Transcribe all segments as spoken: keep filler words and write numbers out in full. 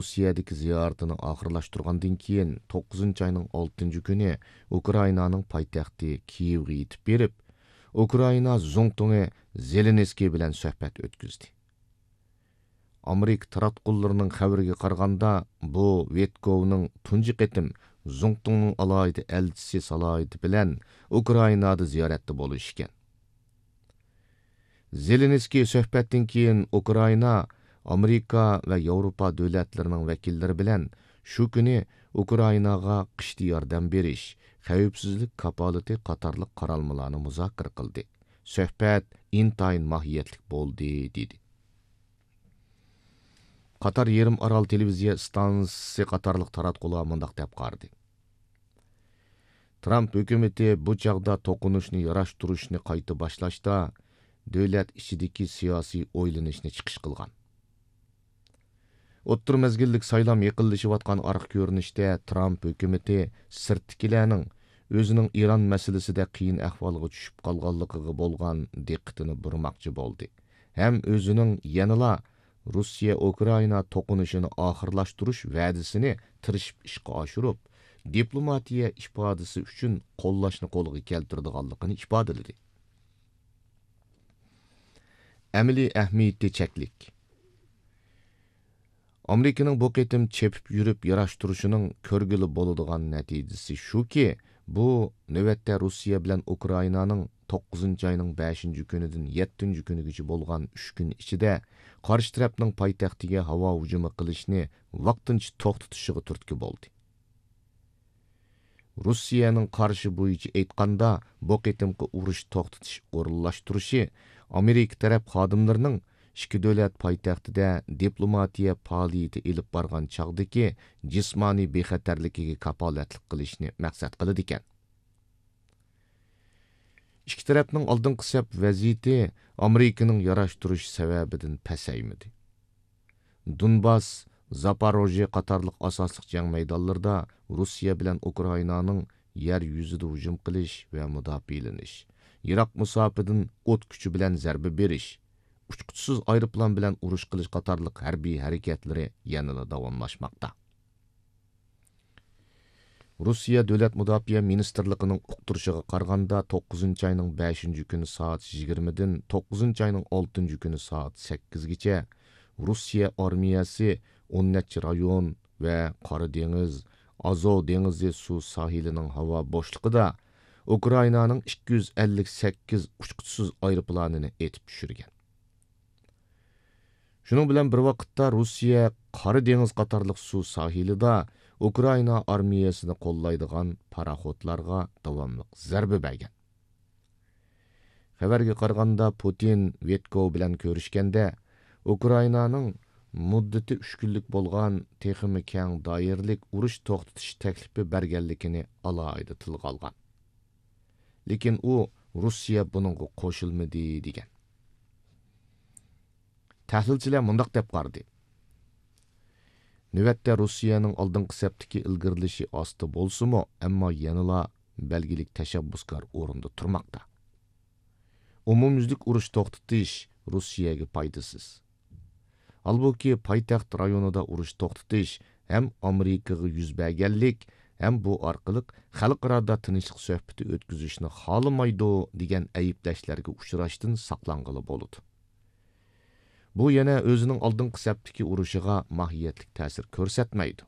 روسىيەدىكى زىيارىتىنى ئاخىرلاشتۇرغاندىن كېيىن، توققۇزىنچى ئاينىڭ ئالتىنچى كۈنى ئۇكرائىنانىڭ پايتەختى كىيېۋغا يېتىپ بېرىپ، ئۇكرائىنا زۇڭتۇڭى زېلېنسكىي بىلەن سۆھبەت ئۆتكۈزدى. ئامېرىكا تاراتقۇلىرىنىڭ خەۋىرىگە قارىغاندا، بۇ ۋىتكوۋنىڭ تۇنجى قېتىم زۇڭتۇڭنىڭ ئالاھىدە ئەلچىسى سالاھىيىتى بىلەن ئۇكرائىنادا زىيارەتتە بولۇشى ئىكەن. زېلېنسكىي سۆھبەتتىن كېيىن ئۇكرائىنا، ئامېرىكا ۋە ياۋروپا دۆلەتلىرىنىڭ ۋەكىللىرى بىلەن شۇ كۈنى ئۇكرائىناغا قىشتا ياردەم بېرىش، خەۋپسىزلىك كاپالىتى قاتارلىق قارالمىلارنى مۇزاكىرە قىلدى. سۆھبەت ئىنتايىن ماھىيەتلىك بولدى، دېدى. قاتار يېرىم ئارال تېلېۋىزىيە ئىستانسىسى قاتارلىق تاراتقۇلار مۇنداق دەپ قارىدى: ترامپ ھۆكۈمىتى بۇ چاغدا توقۇنۇشنى ياراشتۇرۇشنى قايتا باشلاشتا، دۆلەت ئىچىدىكى سىياسىي ئويلىنىشنى چىقىش قىلغان. ئوتتۇرا مەزگىللىك سايلام يېقىنلىشىۋاتقان ئارقا كۆرۈنۈشتە، ترامپ ھۆكۈمىتى سىرتتىكىلەرنىڭ ئۆزىنىڭ ئىران مەسىلىسىدە قىيىن ئەھۋالغا چۈشۈپ قالغانلىقىغا بولغان دىققىتىنى بۇرىماقچى بولدى ھەم ئۆزىنىڭ يەنىلا روسىيە ئۇكرائىنا توقۇنۇشىنى ئاخىرلاشتۇرۇش ۋەدىسىنى تىرىشىپ ئىشقا ئاشۇرۇپ، دىپلوماتىيە ئىپادىسى ئۈچۈن قوللاشنى قولغا كەلتۈرىدىغانلىقىنى ئىپادىلىدى. ئەمەلىي ئەھمىيىتى چەكلىك. ئامېرىكىنىڭ بۇ قېتىم چېپىپ يۈرۈپ ياراشتۇرۇشىنىڭ كۆرگىلى بولىدىغان نەتىجىسى شۇكى، بۇ نۆۋەتتە روسىيە بىلەن ئۇكرائىنانىڭ توققۇزىنچى ئاينىڭ بەشىنچى كۈنىدىن يەتتىنچى كۈنىگىچە بولغان ئۈچ كۈن ئىچىدە قارشى تەرەپنىڭ پايتەختىگە ھاۋا ھۇجۇمى قىلىشنى ۋاقتىنچە توختىتىشىغا تۈرتكە بولدى. روسىيەنىڭ قارىشى بويىچە ئېيتقاندا، بۇ قېتىمقى ئۇرۇش توختىتىش ئورۇنلاشتۇرۇشى ئامېرىكا تەرەپ خادىملىرىنىڭ ئىككى دۆلەت پايتەختىدە دىپلوماتىيە پائالىيىتى ئېلىپ بارغان چاغدىكى جىسمانىي بىخەتەرلىكىگە كاپالەتلىك قىلىشنى مەقسەت قىلىدىكەن. ئىككى تەرەپنىڭ ئالدىنقى سەپ ۋەزىيىتى ئامېرىكىنىڭ ياراشتۇرۇش سەۋەبىدىن پەسەيمىدى. دونباس، زاپاروژيې قاتارلىق ئاساسلىق جەڭ مەيدانلىرىدا روسىيە بىلەن ئۇكرائىنانىڭ يەر يۈزىدە ھۇجۇم قىلىش ۋە مۇداپىئەلىنىش، يىراق مۇساپىدىن ئوت كۈچى بىلەن زەربە بېرىش، ئۇچقۇچىسىز ئايروپىلان بىلەن ئۇرۇش قىلىش قاتارلىق ھەربىي ھەرىكەتلىرى يەنىلا داۋاملاشماقتا. روسىيە دۆلەت مۇداپىئە مىنىستىرلىقىنىڭ ئۇقتۇرۇشىغا قارىغاندا، توققۇزىنچى ئاينىڭ بەشىنچى كۈنى سائەت يىگىرمىدىن توققۇزىنچى ئاينىڭ ئالتىنچى كۈنى سائەت سەككىزگىچە روسىيە ئارمىيەسى ئون نەچچە رايون ۋە قارا دېڭىز، ئازوۋ دېڭىزى سۇ ساھىلىنىڭ ھاۋا بوشلۇقىدا ئۇكرائىنانىڭ ئىككى يۈز ئەللىك سەككىز ئۇچقۇچىسىز ئايروپىلانىنى ئېتىپ چۈشۈرگەن. شۇنىڭ بىلەن بىر ۋاقىتتا، روسىيە قارا دېڭىز قاتارلىق سۇ ساھىلىدا ئۇكرائىنا ئارمىيەسىنى قوللايدىغان پاراخوتلارغا داۋاملىق زەربە بەرگەن. خەۋەرگە قارىغاندا، پۇتىن ۋىتكوۋ بىلەن كۆرۈشكەندە، ئۇكرائىنانىڭ مۇددىتى ئۈچ كۈنلۈك بولغان تېخىمۇ كەڭ دائىرىلىك ئۇرۇش توختىتىش تەكلىپى بەرگەنلىكىنى ئالاھىدە تىلغا ئالغان. لېكىن ئۇ روسىيە بۇنىڭغا قوشۇلمىدى، دېگەن. تەھلىلچىلەر مۇنداق دەپ قارىدى: نۆۋەتتە روسىيەنىڭ ئالدىنقى سەپتىكى ئىلگىرىلىشى ئاستا بولسىمۇ، ئەمما يەنىلا بەلگىلىك تەشەببۇسكار ئورۇندا تۇرماقتا. ئومۇميۈزلۈك ئۇرۇش توختىتىش روسىيەگە پايدىسىز. ھالبۇكى، پايتەخت رايونىدا ئۇرۇش توختىتىش ھەم ئامېرىكىغا يۈز بەرگەنلىك، ھەم بۇ ئارقىلىق خەلقئارادا تىنچلىق سۆھبىتى ئۆتكۈزۈشنى خالىمايدۇ، دېگەن ئەيىبلەشلەرگە ئۇچراشتىن ساقلانغىلى بولىدۇ. بۇ يەنە ئۆزىنىڭ ئالدىنقى سەپتىكى ئۇرۇشىغا ماھىيەتلىك تەسىر كۆرسەتمەيدۇ.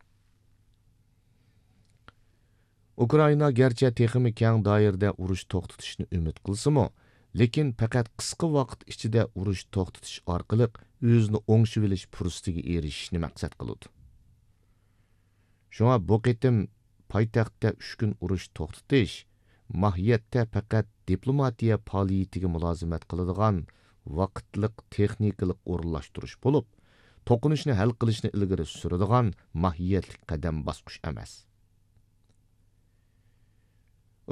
ئۇكرائىنا گەرچە تېخىمۇ كەڭ دائىرىدە ئۇرۇش توختىتىشنى ئۈمىد قىلسىمۇ، لېكىن پەقەت قىسقا ۋاقىت ئىچىدە ئۇرۇش توختىتىش ئارقىلىق ئۆزىنى ئوڭشىۋېلىش پۇرسىتىگە ئېرىشىشنى مەقسەت قىلىدۇ. شۇڭا بۇ قېتىم پايتەختتە ئۈچ كۈن ئۇرۇش توختىتىش ماھىيەتتە پەقەت دىپلوماتىيە پائالىيىتىگە مۇلازىمەت قىلىدىغان ۋاقىتلىق تېخنىكىلىق ئورۇنلاشتۇرۇش بولۇپ، توقۇنۇشنى ھەل قىلىشنى ئىلگىرى سۈرىدىغان ماھىيەتلىك قەدەم باسقۇچ ئەمەس.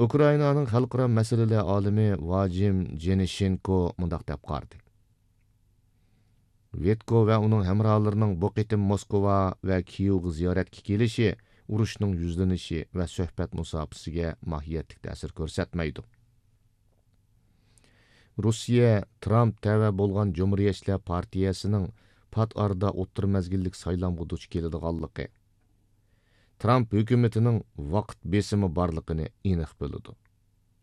ئۇكرائىنانىڭ خەلقئارا مەسىلىلەر ئالىمى ۋاجىم جېنىشېنكو مۇنداق دەپ قارىدى: ۋىتكو ۋە ئۇنىڭ ھەمراھلىرىنىڭ بۇ قېتىم موسكۋا ۋە كىيېۋغا زىيارەتكە كېلىشى ئۇرۇشنىڭ يۈزلىنىشى ۋە سۆھبەت مۇساپىسىگە ماھىيەتلىك تەسىر كۆرسەتمەيدۇ. روسىيە ترامپ تەۋە بولغان جۇمھۇرىيەتچىلەر پارتىيەسىنىڭ پات ئارىدا ئوتتۇرا مەزگىللىك سايلامغا دۇچ كېلىدىغانلىقى، ترامپ ھۆكۈمىتىنىڭ ۋاقىت بېسىمى بارلىقىنى ئېنىق بىلىدۇ.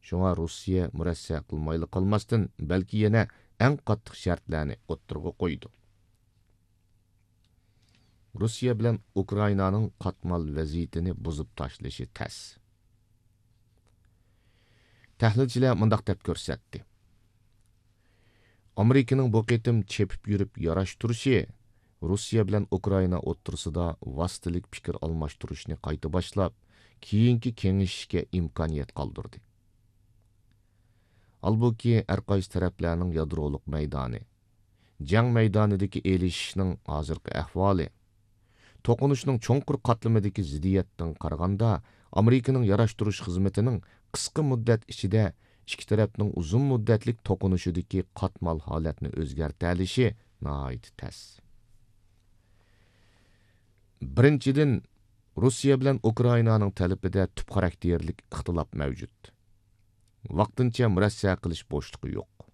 شۇڭا روسىيە مۇرەسسە قىلمايلا قالماستىن، بەلكى يەنە ئەڭ قاتتىق شەرتلەرنى ئوتتۇرىغا قويىدۇ. روسىيە بىلەن ئۇكرائىنانىڭ قاتمال ۋەزىيىتىنى بۇزۇپ تاشلىشى تەس. تەھلىلچىلەر مۇنداق دەپ كۆرسەتتى: ئامېرىكىنىڭ بۇ قېتىم چېپىپ يۈرۈپ ياراشتۇرۇشى روسىيە بىلەن ئۇكرائىنا ئوتتۇرىسىدا ۋاسىتىلىك پىكىر ئالماشتۇرۇشنى قايتا باشلاپ، كېيىنكى كېڭىشىشكە ئىمكانىيەت قالدۇردى. ھالبۇكى، ھەرقايسى تەرەپلەرنىڭ يادرولۇق مەيدانى، جەڭ مەيدانىدىكى ئېلىشىشنىڭ ھازىرقى ئەھۋالى، توقۇنۇشنىڭ چوڭقۇر قاتلىمىدىكى زىددىيەتتىن قارىغاندا، ئامېرىكىنىڭ ياراشتۇرۇش خىزمىتىنىڭ قىسقا مۇددەت ئىچىدە ئىككى تەرەپنىڭ ئۇزۇن مۇددەتلىك توقۇنۇشىدىكى قاتمال ھالەتنى ئۆزگەرتەلىشى ناھايىتى تەس. بىرىنچىدىن، روسىيە بىلەن ئۇكرائىنانىڭ تەلىپىدە تۈپ خاراكتېرلىك ئىختىلاپ مەۋجۇت. ۋاقتىنچە مۇرەسسە قىلىش بوشلۇقى يوق.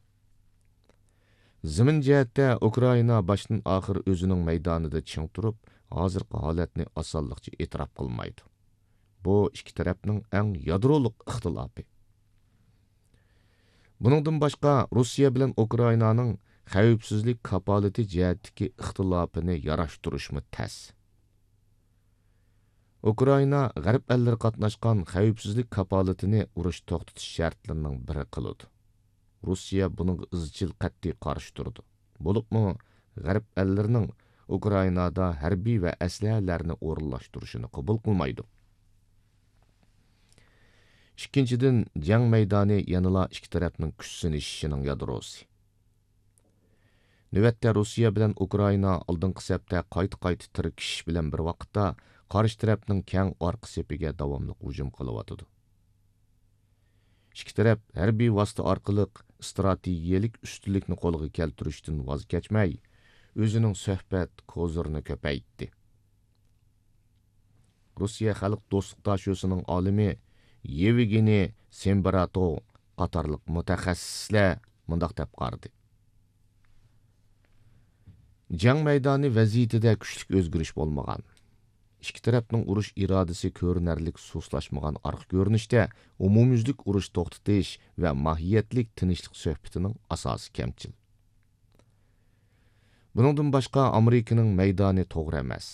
زېمىن جەھەتتە ئۇكرائىنا باشتىن ئاخىر ئۆزىنىڭ مەيدانىدا چىڭ تۇرۇپ، ھازىرقى ھالەتنى ئاسانلىقچە ئېتىراپ قىلمايدۇ. بۇ ئىككى تەرەپنىڭ ئەڭ يادرولۇق ئىختىلاپى. بۇنىڭدىن باشقا، روسىيە بىلەن ئۇكرائىنانىڭ خەۋپسىزلىك كاپالىتى جەھەتتىكى ئىختىلاپىنى ياراشتۇرۇشمۇ تەس. ئۇكرائىنا غەرب ئەللىرى قاتناشقان خەۋپسىزلىك كاپالىتىنى ئۇرۇش توختىتىش شەرتلىرىنىڭ بىرى قىلىدۇ. روسىيە بۇنىڭغا ئىزچىل قەتئىي قارشى تۇرىدۇ. بولۇپمۇ غەرب ئەللىرىنىڭ ئۇكرائىنادا ھەربىي ۋە ئەسلىھەلەرنى ئورۇنلاشتۇرۇشىنى قوبۇل قىلمايدۇ. ئىككىنچىدىن، جەڭ مەيدانى يەنىلا ئىككى تەرەپنىڭ كۈچ سىنىشىشىنىڭ يادروسى. نۆۋەتتە روسىيە بىلەن ئۇكرائىنا ئالدىنقى سەپتە قايتا-قايتا تىركىشىش بىلەن بىر ۋاقىتتا، قارشى تەرەپنىڭ كەڭ ئارقا سېپىگە داۋاملىق ھۇجۇم قىلىۋاتىدۇ. ئىككى تەرەپ ھەربىي ۋاسىتە ئارقىلىق ئىستراتېگىيەلىك ئۈستۈنلۈكنى قولغا كەلتۈرۈشتىن ۋاز كەچمەي، ئۆزىنىڭ سۆھبەت كوزىرىنى كۆپەيتتى. روسىيە خەلق دوستلۇق داشۆسىنىڭ ئالىمى يېۋگېنىي سېمبراتو قاتارلىق مۇتەخەسسىسلەر مۇنداق دەپ قارىدى: جەڭ مەيدانى ۋەزىيىتىدە كۈچلۈك ئۆزگىرىش بولمىغان. ئىككى تەرەپنىڭ ئۇرۇش ئىرادىسى كۆرۈنەرلىك سۇسلاشمىغان ئارقا كۆرۈنۈشتە، ئومۇميۈزلۈك ئۇرۇش توختىتىش ۋە ماھىيەتلىك تىنچلىق سۆھبىتىنىڭ ئاساسى كەمچىل. بۇنىڭدىن باشقا، ئامېرىكىنىڭ مەيدانى توغرا ئەمەس،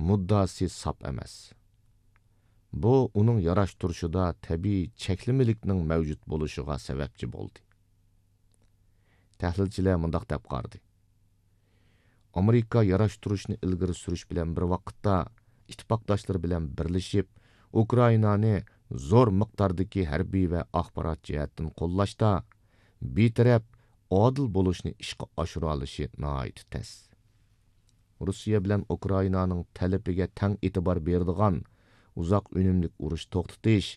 مۇددىئاسى ساپ ئەمەس. بۇ ئۇنىڭ ياراشتۇرۇشىدا تەبىئىي چەكلىمىلىكنىڭ مەۋجۇت بولۇشىغا سەۋەبچى بولدى. تەھلىلچىلەر مۇنداق دەپ قارىدى: ئامېرىكا ياراشتۇرۇشنى ئىلگىرى سۈرۈش بىلەن بىر ۋاقىتتا، ئىتتىپاقداشلىرى بىلەن بىرلىشىپ، ئۇكرائىنانى زور مىقداردىكى ھەربىي ۋە ئاخبارات جەھەتتىن قوللاشتا، بىتەرەپ، ئادىل بولۇشنى ئىشقا ئاشۇرالىشى ناھايىتى تەس. روسىيە بىلەن ئۇكرائىنانىڭ تەلىپىگە تەڭ ئېتىبار بېرىدىغان، ئۇزاق ئۈنۈملۈك ئۇرۇش توختىتىش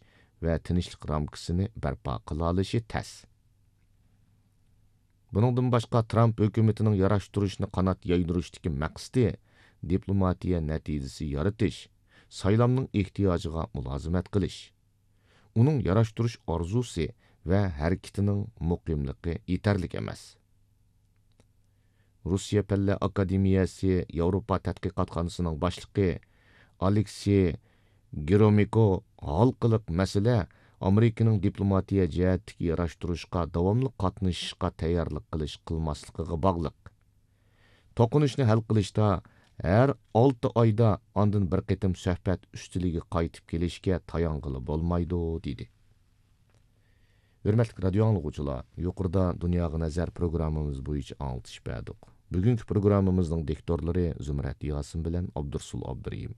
ۋە تىنچلىق رامكىسىنى بەرپا قىلالىشى تەس. بۇنىڭدىن باشقا، ترامپ ھۆكۈمىتىنىڭ ياراشتۇرۇشنى قانات يايدۇرۇشتىكى مەقسىتى دىپلوماتىيە نەتىجىسى يارىتىش، سايلامنىڭ ئېھتىياجىغا مۇلازىمەت قىلىش. ئۇنىڭ ياراشتۇرۇش ئارزۇسى ۋە ھەرىكىتىنىڭ مۇقىملىقى يېتەرلىك ئەمەس. روسىيە پەنلەر ئاكادېمىيەسى ياۋروپا تەتقىقاتخانىسىنىڭ باشلىقى ئالېكسېي گرومىكو ھالقىلىق مەسىلە ئامېرىكىنىڭ دىپلوماتىيە جەھەتتىكى ياراشتۇرۇشقا داۋاملىق قاتنىشىشقا تەييارلىق قىلىش قىلماسلىقىغا باغلىق. توقۇنۇشنى ھەل قىلىشتا ھەر ئالتە ئايدا ئاندىن بىر قېتىم سۆھبەت ئۈستىلىگە قايتىپ كېلىشكە تايانغىلى بولمايدۇ، دېدى. ھۆرمەتلىك رادىيو ئاڭلىغۇچىلار، يۇقىرىدا دۇنياغا نەزەر پروگراممىمىز بويىچە ئاڭلىتىش بەردۇق. بۈگۈنكى پروگراممىمىزنىڭ دىكتورلىرى زۇمرەت ياسىن بىلەن ئابدۇرسۇل ئابدۇرېھىم.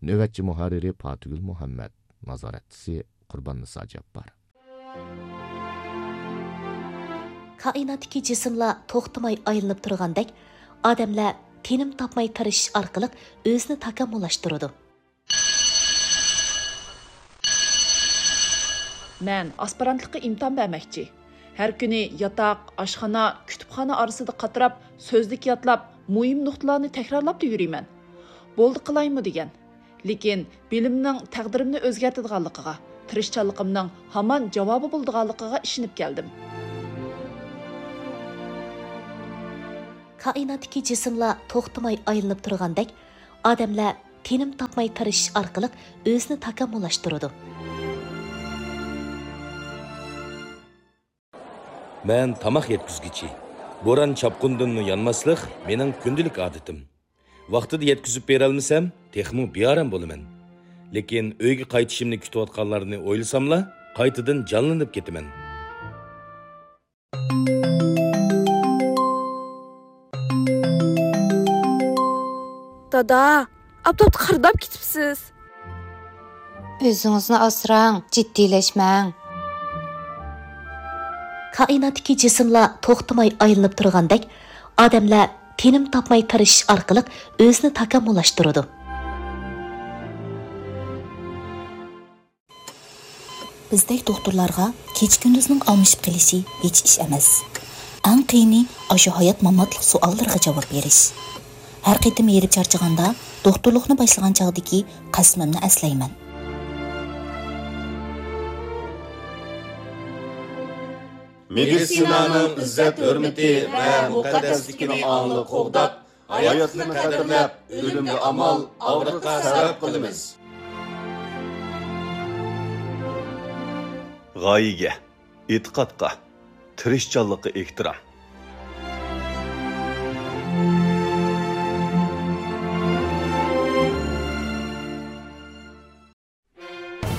نۆۋەتچى مۇھەررىرى پاتىگۈل مۇھەممەد. نازارەتچىسى قۇرباننىسا جاپپار. كائىناتتىكى جىسىملار توختىماي ئايلىنىپ تۇرغاندەك، ئادەملەر تىنىم تاپماي تىرىشىش ئارقىلىق ئۆزىنى تاكامۇللاشتۇرىدۇ. مەن ئاسپىرانتلىققا ئىمتىھان بەرمەكچى. ھەر كۈنى ياتاق، ئاشخانا، كۇتۇپخانا ئارىسىدا قاتراپ، سۆزلۈك يادلاپ، مۇھىم نۇقتىلارنى تەكرارلاپلا يۈرىمەن. بولدى قىلايمۇ دېگەن. لېكىن بىلىمنىڭ تەقدىرىمنى ئۆزگەرتىدىغانلىقىغا، تىرىشچانلىقىمنىڭ ھامان جاۋابى بولىدىغانلىقىغا ئىشىنىپ كەلدىم. كائىناتتىكى جىسىملار توختىماي ئايلىنىپ تۇرغاندەك، ئادەملەر تىنىم تاپماي تىرىشىش ئارقىلىق ئۆزىنى تاكامۇللاشتۇرىدۇ. مەن تاماق يەتكۈزگۈچى. بوران-چاپقۇندىنمۇ يانماسلىق مېنىڭ كۈندىلىك ئادىتىم. ۋاقتىدا يەتكۈزۈپ بېرەلمىسەم، تېخىمۇ بىئارام بولىمەن. لېكىن ئۆيگە قايتىشىمنى كۈتۈۋاتقانلارنى ئويلىساملا، قايتىدىن جانلىنىپ كېتىمەن. دادا، ئاپتاپتا قىرداپ كېتىپسىز. ئۆزىڭىزنى ئاسراڭ، جىددىيلەشمەڭ. كائىناتتىكى جىسىملار توختىماي ئايلىنىپ تۇرغاندەك، ئادەملەر تىنىم تاپماي تىرىشىش ئارقىلىق ئۆزىنى تاكامۇللاشتۇرىدۇ. بىزدەك دوختۇرلارغا كېچە-كۈندۈزنىڭ ئالمىشىپ قېلىشى ھېچ ئىش ئەمەس. ئەڭ قىيىنى ئاشۇ ھايات-ماماتلىق سوئاللىرىغا جاۋاب بېرىش. ھەر قېتىم ھېرىپ چارچىغاندا، دوختۇرلۇقنى باشلىغان چاغدىكى قەسىمىمنى ئەسلەيمەن. مېدىتسىنانىڭ ئىززەت-ھۆرمىتى ۋە مۇقەددەسلىكىنى ئاڭلىق قوغداپ، ھاياتلىقنى قەدىرلەپ، ئۆلۈمگە ئامال، ئاغرىققا سەۋەب قىلىمىز. غايىگە، ئېتىقادقا، تىرىشچانلىققا ئېھتىرام.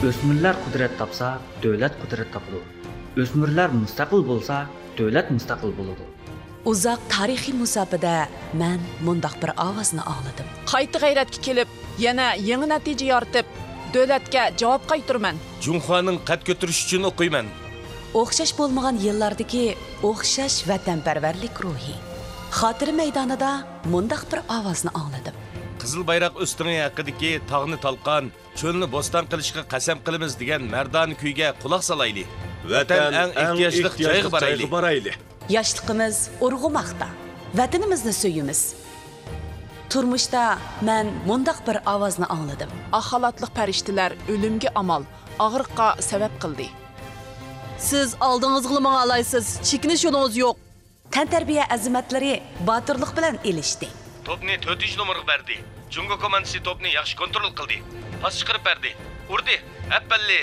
ئۆسمۈرلەر قۇدرەت تاپسا، دۆلەت قۇدرەت تاپىدۇ. ئۆسمۈرلەر مۇستەقىل بولسا، دۆلەت مۇستەقىل بولىدۇ. ئۇزاق تارىخىي مۇساپىدە مەن مۇنداق بىر ئاۋازنى ئاڭلىدىم. قايتا غەيرەتكە كېلىپ، يەنە يېڭى نەتىجە يارىتىپ، دۆلەتكە جاۋاب قايتۇرىمەن. جۇڭخۇانىڭ قەد كۆتۈرۈشى ئۈچۈن ئوقۇيمەن. ئوخشاش بولمىغان يىللاردىكى ئوخشاش ۋەتەنپەرۋەرلىك روھى. خاتىرە مەيدانىدا مۇنداق بىر ئاۋازنى ئاڭلىدىم. قىزىل بايراق ئۆستىڭى ھەققىدىكى تاغنى تالقان، چۆلنى بوستان قىلىشقا قەسەم قىلىمىز دېگەن مەردانە كۈيگە قۇلاق سالايلى. ۋەتەن ئەڭ ئېھتىياجلىق جايغا بارايلى. ياشلىقىمىز ئۇرغۇماقتا. ۋەتىنىمىزنى سۆيىمىز. تۇرمۇشتا مەن مۇنداق بىر ئاۋازنى ئاڭلىدىم. ئاق خالاتلىق پەرىشتىلەر ئۆلۈمگە ئامال، ئاغرىققا سەۋەب قىلدى. سىز ئالدىڭىزغىلا ماڭالايسىز، چېكىنىش يولىڭىز يوق. تەنتەربىيە ئەزىمەتلىرى باتۇرلۇق بىلەن ئېلىشتى. توپنى تۆتىنچى نومۇرغا بەردى. جۇڭگو كوماندىسى توپنى ياخشى كونترول قىلدى. پاس چىقىرىپ بەردى. ئۇردى. ئەپەللى!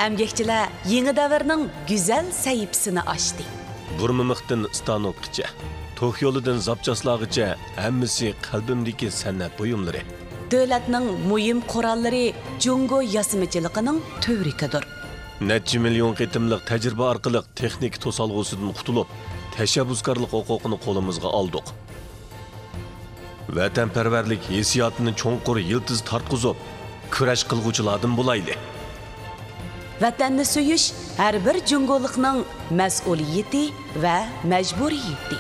ئەمگەكچىلەر يېڭى دەۋرنىڭ گۈزەل سەھىپىسىنى ئاچتى. بۇرمىمىختىن ستانوكقىچە، توك يولىدىن زاپچاسلارغىچە ھەممىسى قەلبىمدىكى سەنئەت بۇيۇملىرى. دۆلەتنىڭ مۇھىم قوراللىرى جۇڭگو ياسىمىچىلىقىنىڭ تۈۋرۈكىدۇر. نەچچە مىليون قېتىملىق تەجرىبە ئارقىلىق تېخنىكا توسالغۇسىدىن قۇتۇلۇپ، تەشەببۇسكارلىق ھوقۇقىنى قولىمىزغا ئالدۇق. ۋەتەنپەرۋەرلىك ھېسسىياتىنى چوڭقۇر يىلتىز تارتقۇزۇپ، كۈرەش قىلغۇچىلاردىن بولايلى. ۋەتەننى سۆيۈش ھەر بىر جۇڭگولۇقنىڭ مەسئۇلىيىتى ۋە مەجبۇرىيىتى.